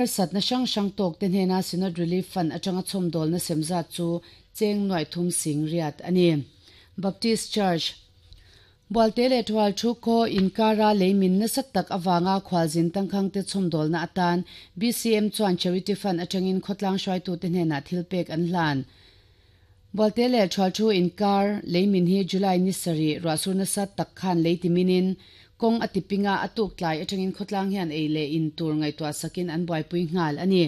Harsatna hrang hrang tawkte hnena Synod Relief Fund atanga chhawmdawlna sem zat chu cheng nuaih thum sing riat a ni. Baptist Church, Bualte leh Thual thu khaw inkara lei min nasa tak avanga khualzin tangkhangte chhawmdawlna atan BCM chuan Charity Fund atangin khawtlang hruaitute hnenah thilpek an hlan. Bualte leh Thual thu inkar lei min hi July ni sarih ruahsur nasa tak khan lei ti minin kawng a ti ping a, a tuk tlai atangin khawtlang hian ei leh in tur ngaihtuah sakin an buaipui nghal a ni.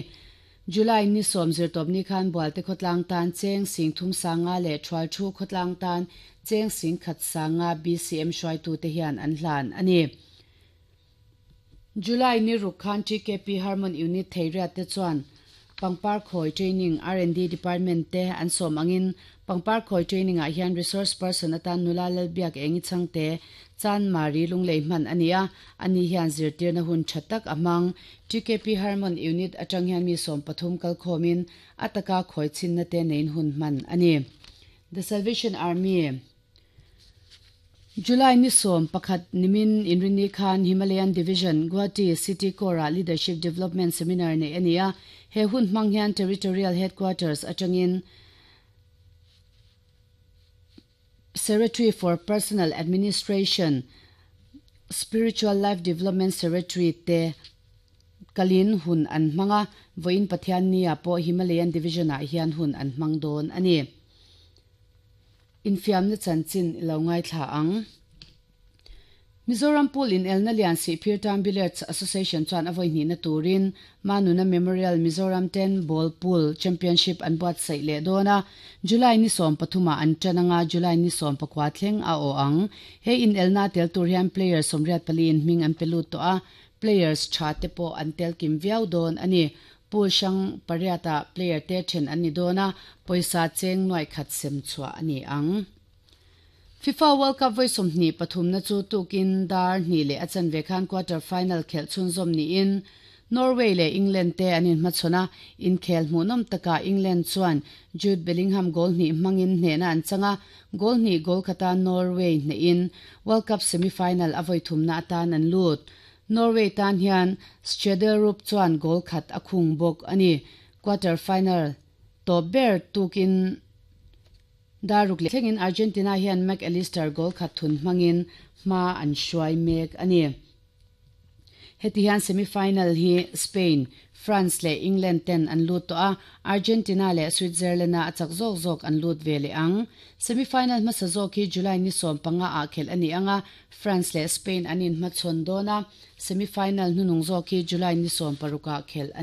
July ni sawm zirtawpni khan Bualte khawtlang tan cheng sing thum sanga leh Thual thu khawtlang tan cheng sing khat sanga BCM hruaitute hian an hlan a ni. July ni ruk khan TKP Harmon Unit Theiriat te chuan Pangpar Khawi Training R&D Department te an sawm angin Pangpar Khawi Training ah hian Resource Person atan nula Lalbiak Engi Chhangte Chan Mari Lunglei hman a ni a, ani hian zirtirna hun tha tak a hmang. TKP Harmon Unit atang hian mi 13 kalkhawmin a taka khawi chhinna te neiin hun hman a ni. The Salvation Army. July ni 11 nimin Inrinni khan Himalayan Division, Guwahati City Core-ah Leadership Development Seminar neih a ni a. He hun hmang hian Territorial Headquarters atangin Secretary for Personnel Administration, Spiritual Life Development Secretary te kalin hun an hmang a, vawiin Pathianni-ah pawh Himalayan Division-ah hian hun an hmang dawn a ni. Infiamna chanchin i lo ngaithla ang. Mizoram Pool inelna lian Sihphir Town Billiards Association chuan a vawi hnihna turin Manuna Memorial Mizoram Ten Ball Pool Championship an buatsaih leh dawn a, July ni 13 ah an tan anga July ni 19 thleng a aw ang. He inelna tel tur hian player 84 in hming an pe lut tawh a, players tha te pawh an tel kim viau dawn a ni. Pool hrang pariatah player te then an ni dawn a, pawisa cheng nuaih khat sem chhuah a ni ang. FIFA World Cup vawi 23na chu tukin dar hnih leh a chanve khan quarter final khelh chhunzawm niin Norway leh England te an inhmachhawn a, inkhel hmuhnawm takah England chuan Jude Bellingham goal hnih hmangin hnehna an chang a, goal hnih goal khata Norway hnehin World Cup semi-final a vawi thumna atan an lut. Norway tan hian Schjelderup chuan goal khat a khung bawk a ni. Quarter final tawp ber tukin Daruk leh thlengin Argentina hian Mac Allister goal khat thun hmangin hma an hruai mek a ni. Heti hian semi-final hi Spain, France leh England ten an lut tawh a, Argentina leh Switzerland-a a chak zawk zawk an lut ve leh ang. Semi-final hmasa zawk hi July ni 15 ah khelh a ni ang a, France leh Spain an inhmachhawn dawn a, semi-final hnunung zawk hi July ni 16 ah khelh a.